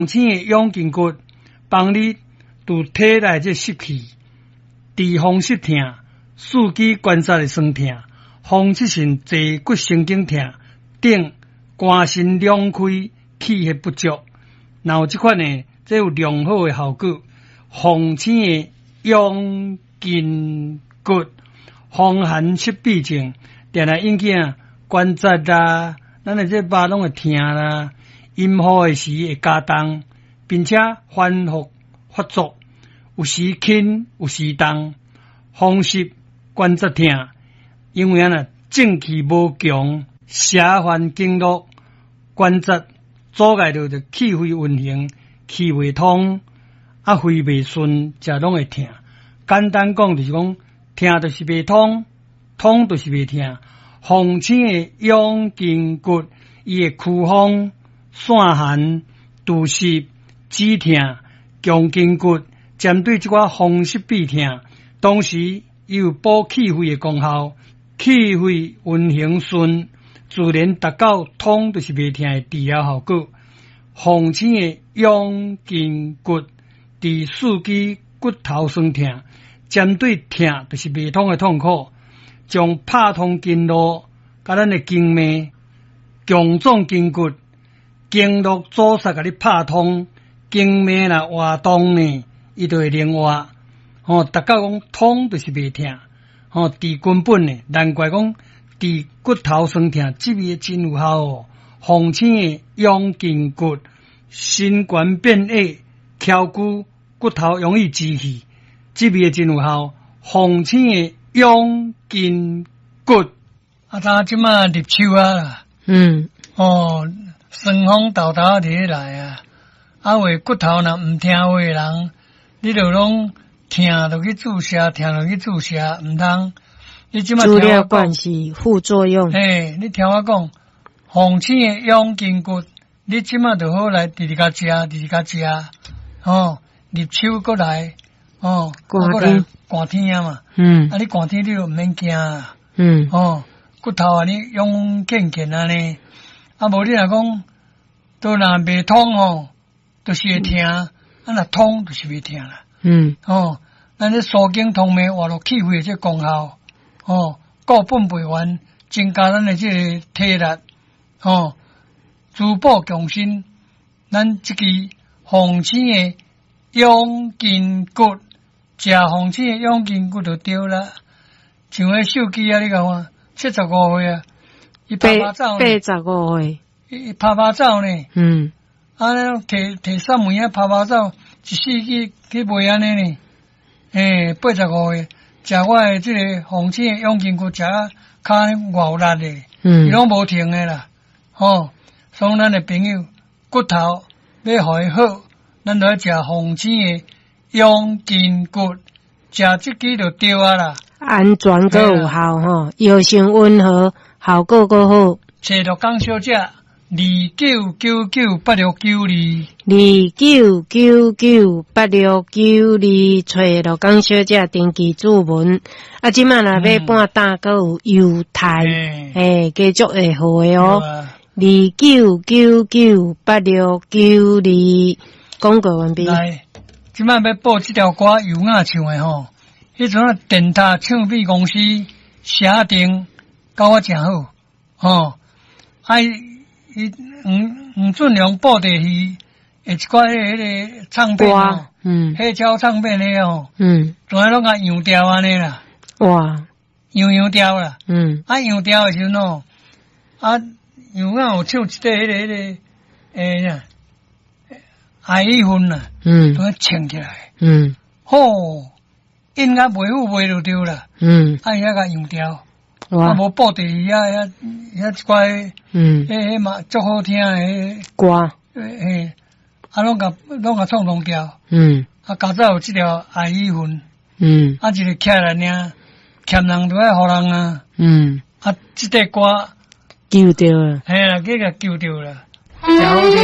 青的養筋骨，幫你除體內這濕氣，治風濕疼、四肢關節的痠疼、風濕性坐骨神經疼等，肝腎兩虧、氣血不足，若有這款呢，這有良好的效果。鳳青的養筋骨，風寒濕痹症，定定引起啊關節啦，咱的這肉攏會疼啦，陰雨的時會加重，並且反覆發作，有時輕有時重，風濕關節疼，因為啊正氣無強，邪犯經絡，關節阻礙著就氣血運行，氣袂通，啊肺袂順，才攏會疼。簡單講就是講，疼就是袂通，通就是袂疼。鳳青的養筋骨，伊會驅風、散寒、除濕、止疼、強筋骨，針對這寡風濕痹疼，同時伊有補氣血的功效，氣血運行順，自然達到通就是袂疼的治療效果。鳳青的養筋骨，治四肢骨頭痠疼，針對疼就是袂通的痛苦，將拍通經絡，佮咱的經脈，強壯筋骨，經絡阻塞共你拍通，經脈若活動呢，伊就會靈活。吼，達到講通就是袂疼，吼，治根本的，難怪講治骨頭痠疼，這味真有效哦。鳳青的養筋骨，身懸變矮，翹骨骨頭容易支氣，這味真有效。鳳青的養筋骨，啊，咱這馬入秋啊，哦，霜風沓沓佇咧來啊，啊話骨頭若毋聽話的人，你就攏疼就去注射，疼就去注射，毋通。你這馬資料關係副作用。嘿，你聽我講，鳳青的養筋骨，你這馬就好來直直共食，直直共食，吼，入秋閣來，吼，閣來寒天啊嘛，啊你寒天你就毋免驚啊，吼，骨頭按呢勇健健按呢，啊無你若講，都若袂通吼，就是會疼，啊若通就是袂疼啦，吼，咱這疏經通脈活絡氣血的這功效，吼，固本培元，增加咱的這個體力，吼，滋補強身，咱這支鳳青的養筋骨，食鳳青的養筋骨就對啦。像彼手機啊，你共看，75歲啊，伊拍拍走呢，85歲，伊拍拍走呢，啊，提提三門仔拍拍走，一世去去賣按呢呢，欸，85歲，食我的這個鳳青的養筋骨，食啊跤偌有力的，伊攏無停的啦，吼，所以咱的朋友骨頭欲予伊好，咱就愛食鳳青的養筋骨，食這支就對啊啦。安全閣有效吼，藥性溫和，效果閣好。找陸江小姐，29998692。29998692，找陸江小姐登記注文。啊，這馬若買半擔，閣有優待，欸，繼續會好的哦。29998692，廣告完畢。來，這馬欲播這條歌，尤雅唱的吼。彼陣啊，電塔唱片公司寫定，佮我誠好，吼。啊，伊黃黃俊良布袋戲的一寡彼個唱片吼，黑膠唱片的吼，全攏共洋掉按呢啦。哇！洋洋掉啦。啊，洋掉的時陣吼，啊，尤雅有唱一塊彼個彼個，欸啥，愛與恨啦，都唱起來。好。音樂袂好賣就對啦，啊伊遐共洋掉，啊無布袋戲遐遐遐一寡，彼彼嘛足好聽的歌，嘿，啊攏共攏共創弄掉，啊加早有這條愛與恨，啊一個起來爾，欠人就愛予人啊，啊這塊歌救著了，嘿啦，去共救著啦，誠好聽。